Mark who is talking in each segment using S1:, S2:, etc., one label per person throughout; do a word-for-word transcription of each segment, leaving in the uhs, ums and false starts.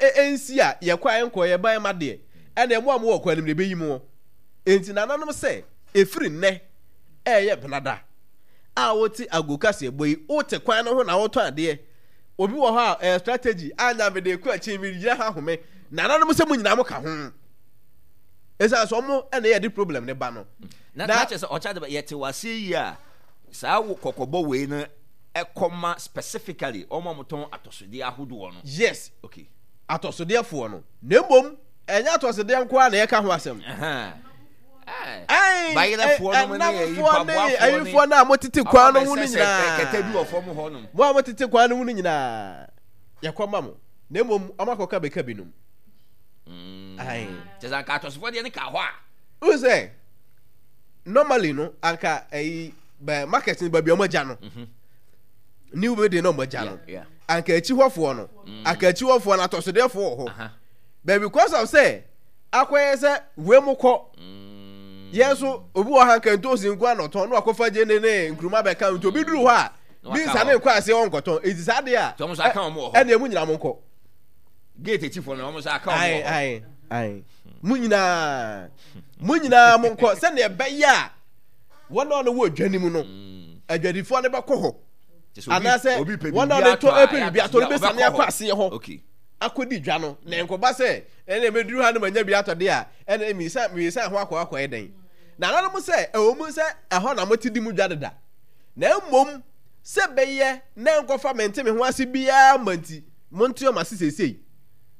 S1: Ɛnsi a yɛkɔ a yɛnkɔ yɛba yɛma deɛ, ɛnna mo a mowɔ kwan no mu na ɛbɛyi mo. Enti nananom sɛ, ɛfiri nnɛ ɛyɛ benada a wote ago kaseɛbɔ yi, wote kwan no ho na wotɔn adeɛ. Obi wɔ hɔ a ɛyɛ strategy anya mede kɔ akyi, megyina ha home. Nananom sɛ mo nyinaa mo ka ho. Ɛsiane sɛ ɔmo ɛna yɛde problem ne ba no.
S2: Na na kyerɛ sɛ ɔkyɛ de yɛte wase yi a saa kɔkɔbɔ wei no ɛkɔma specifically ɔmo a wɔtɔn atɔsodeɛ ahodoɔ no.
S1: Yes.
S2: Okay.
S1: Atɔsodeɛfoɔ no. Na mmom ɛnyɛ atɔsodeɛ nko ara na yɛka ho asɛm.
S2: Bayerɛfoɔ no ne
S1: ɛnamfoɔ ne ayifoɔ no a motete kwan no ho no nyinaa.
S2: Kɛtɛ bi wɔ fam hɔ nom.
S1: Mo a motete kwan no ho no nyinaa yɛkɔ ma mo. Na mmom ɔmo akɔka bɛka binom.
S2: Mm. Kyɛ sɛ anka atɔsofoɔ deɛ ne ka hɔ a.
S1: Wohu sɛ normally no anka ɛyi bɛ market no baabi a ɔmo agya no.
S2: Mhm.
S1: New building na ɔmo agya no.
S2: Yeah, yeah.
S1: Anka akyi hɔfoɔ no.
S2: Mm.
S1: Anka akyi hɔfoɔ no atɔsodeɛfoɔ wɔ hɔ.
S2: Aha.
S1: But because of sɛ akɔyɛ sɛ wei mo kɔ
S2: Mm.
S1: yɛn nso obi wɔ ha nka ntoosi nko ara na ɔtɔn na wakɔfa gye ne ne nkuruma bɛka nti obi duru hɔ a
S2: Na
S1: bi
S2: waka
S1: nsa ne
S2: hɔ.
S1: nkɔ aseɛ ɔnkɔtɔn eti saa deɛ a
S2: Nti ɔmo nso aka wɔn wɔ hɔ.
S1: ɛnna emu nyinaa mo nkɔ.
S2: Gate akyifoɔ no ɔmo nso aka wɔn
S1: Ae
S2: wɔ hɔ.
S1: ae ae mo nyinaa mo nyinaa mo nkɔ sɛnea ɛbɛyɛ a wɔn a wɔwɔ dwa no mu no
S2: Mm.
S1: adwadifoɔ no bɛkɔ hɔ
S2: Kyɛ sɛ obi-
S1: anaasɛ
S2: obi pɛ
S1: wɔn a
S2: biribi
S1: wɔtɔ
S2: atɔ a,
S1: ɛpɛ
S2: ɛyɛ
S1: biribi atɔ no
S2: atɔsodeɛ a,
S1: bɛsane
S2: ɔbɛkɔ
S1: akɔ
S2: hɔ.
S1: aseɛ hɔ
S2: Okay.
S1: akɔdi dwa no na nkɔba sɛ ɛna mɛduru ha no manya bi atɔ de a ɛna mmiɛnsa mmiɛnsa ho akɔ akɔyɛ dɛn na nananom sɛ ɛwɔ mu sɛ ɛhɔ na mote di mu dwa deda na mmom sɛ bɛyɛ na nkɔfa mente me ho ase biara ma nti monte ɔma ase seesei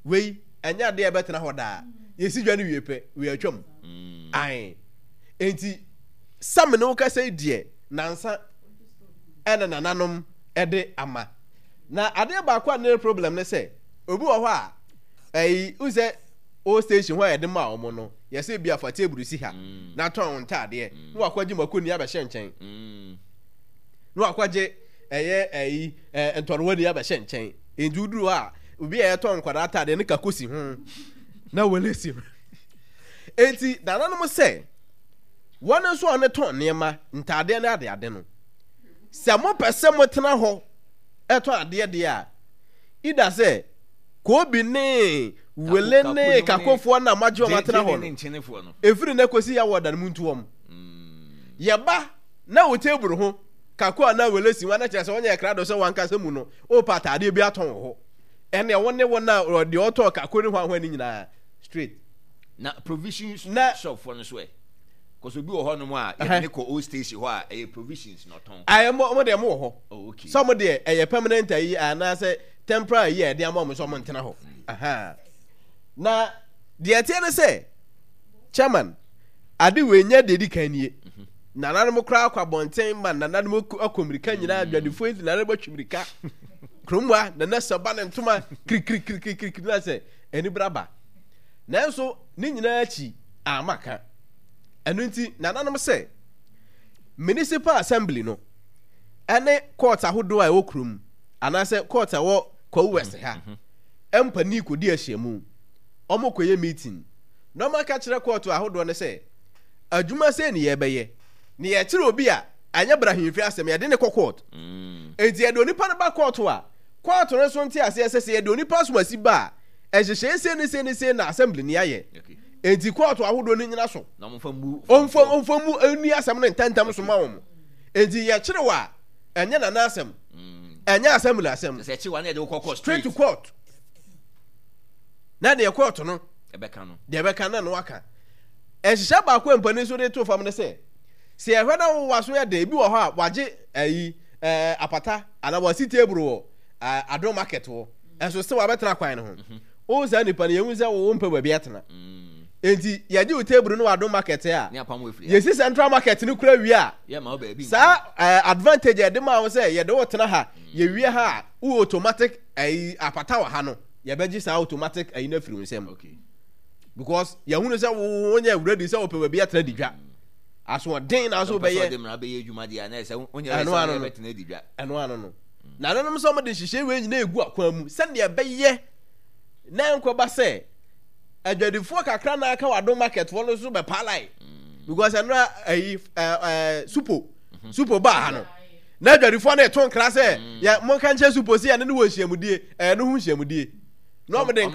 S1: wei ɛnyɛ adeɛ a ɛbɛtena hɔ daa yɛsi dwa no wie pɛ wei atwam
S2: Mm.
S1: ae enti sɛ me ne wo kasa yi deɛ nansa ɛna nananom ɛde ama na adeɛ baako a ne problem ne sɛ obi wɔ hɔ a ɛyi n sɛ old station hɔ a yɛde ma wɔn no yɛsɛ bi afa table si ha
S2: Mm.
S1: na tɔn wɔn ntaadeɛ
S2: Mm.
S1: na wakɔgye mako ni abɛhyɛ nkyɛn
S2: Mm.
S1: na wakɔgye ɛyɛ ɛyi ɛɛ ntɔrewa ni abɛhyɛ nkyɛn nti woduru hɔ a obi a yɛtɔn nkwadaa ataadeɛ ne kako si ho na wɔle si ho eti nananom sɛ wɔn nso a wɔtɔn nneɛma ntaadeɛ ne adeade no sɛ mopɛ sɛ motena hɔ ɛtɔn adeɛ deɛ a ida sɛ koobi ne wele
S2: Kako-
S1: ne
S2: kako nom ne-
S1: kakofoɔ na magye wɔn atena
S2: Gye-
S1: hɔ
S2: gyene ne
S1: no
S2: nkyenefoɔ no.
S1: efiri ne kɔsi yɛ wɔ dan mu ntu wɔn
S2: Mm.
S1: yɛba na wo table ho kako a na wele si wɔn na kyerɛ sɛ wɔnyɛ krado sɛ wankasa mu no wɔpa ataadeɛ bi atɔn wɔ hɔ ɛnna wɔn ne wɔn a deɛ ɔtɔn kako ne ho ahoa ne nyinaa straight
S2: Na provisions
S1: Na-
S2: shop foɔ no so ɛ. Kɔsɛ obi wɔ hɔnom a
S1: Ɛhɛ.
S2: yɛde ne kɔ old station hɔ a ɛyɛ provisions na ɔtɔn.
S1: ayɛ mo mo deɛ mo wɔ hɔ
S2: Oh, okay.
S1: sɛ mo deɛ ɛyɛ permanent ayi anaasɛ temporary ayi a yɛde ama mo sɛ ɔmo ntena hɔ Aha. Na deɛ ɛteɛ ne sɛ chairman ade wei nyɛ deɛ di kan nie. Nananom koraa akɔ abɔnten ma nananom akɔ akɔ mmirika nyinaa adwadifoɔ yi nananom atwi mmirika kurom ha nana saba ne ntoma kirikirikirikiri na sɛ anibere aba nanso ne nyinaa akyi ama ka ɛno nti nananom sɛ municipal assembly no ɛne court ahodoɔ a ɛwɔ kurom anaasɛ court a ɛwɔ Kwawu West ha mpanin kɔdi ahyiamu ɔmo kɔyɛ meeting na ɔmo aka kyerɛ court ahodoɔ no sɛ adwuma sɛ ne yɛbɛyɛ ne yɛkyerɛ obi a ɛnyɛ brahemfi asɛm yɛde ne kɔ court
S2: Mm.
S1: enti yɛde onipa no ba court a court no nso nte aseɛ sɛ sɛ yɛde onipa asomasi ba a ɛhyehyɛ sei ne sei ne sei na assembly ne ayɛ
S2: Okay.
S1: enti court ahodoɔ no nyina so
S2: Na ɔmfa mu.
S1: ɔmfa ɔmfa mu ɛni asɛm no ntɛntɛm so ma wɔn enti yɛkyerɛ wɔ a ɛnyɛ nana asɛm
S2: Mm.
S1: ɛnyɛ assembly asɛm
S2: Sɛ ɛkyi wa ne yɛde wokɔ court
S1: straight to court na deɛ court no
S2: Ɛbɛka no.
S1: deɛ ɛbɛka na no aka ɛhyehyɛ baako a mpanin nso de to fam ne sɛ sɛ yɛhwɛ na wowa so yɛ den ebi wɔ hɔ a wagye ɛyi ɛɛ apata anaa wasi table wɔ ɛɛ adom market hɔ ɛnso sɛ wabɛtena kwan no ho wo saa nipa no yɛhu sɛ wo mpɛ baabi atena
S2: Mm.
S1: enti yɛgye wo table no wɔ adom market a
S2: Ne apam wɔ efiri.
S1: yɛsi central market no kura wie a
S2: Yɛ ma wo baabi.
S1: saa ɛɛ advantage a yɛde maa wo sɛ yɛde wo tena ha yɛwie ha a wo automatic ɛyi apata wɔ ha no yɛbɛgye saa automatic ɛyi no afiri wo nsam
S2: Okay.
S1: because yɛhunu sɛ wo wonyɛ ready sɛ wopɛ baabi atena di dwa asoɔden na so
S2: Sɛ wopɛ sɛ
S1: wobɛyɛ
S2: ɔde mmara bɛyɛ adwuma deɛ a na ɛsɛ wonyɛ
S1: Ɛno
S2: sɛ
S1: ano no.
S2: wobɛtena adi dwa.
S1: ɛno ano no na nananom sɛ ɔmode nhyehyɛ wei nyinaa egu akwan mu sɛdeɛ ɛbɛyɛ na nkɔba sɛ adwadifoɔ kakra na aka wɔ adom market foɔ no nso bɛpa line because ɛnora ayi ɛɛ ɛɛ supo supo baa ha no na adwadifoɔ no ɛto nkra sɛ yɛ monka nkyɛn supo si ɛne ne wɔ nhyiamudie ɛyɛ no ho nhyiamudie na ɔmo de nkra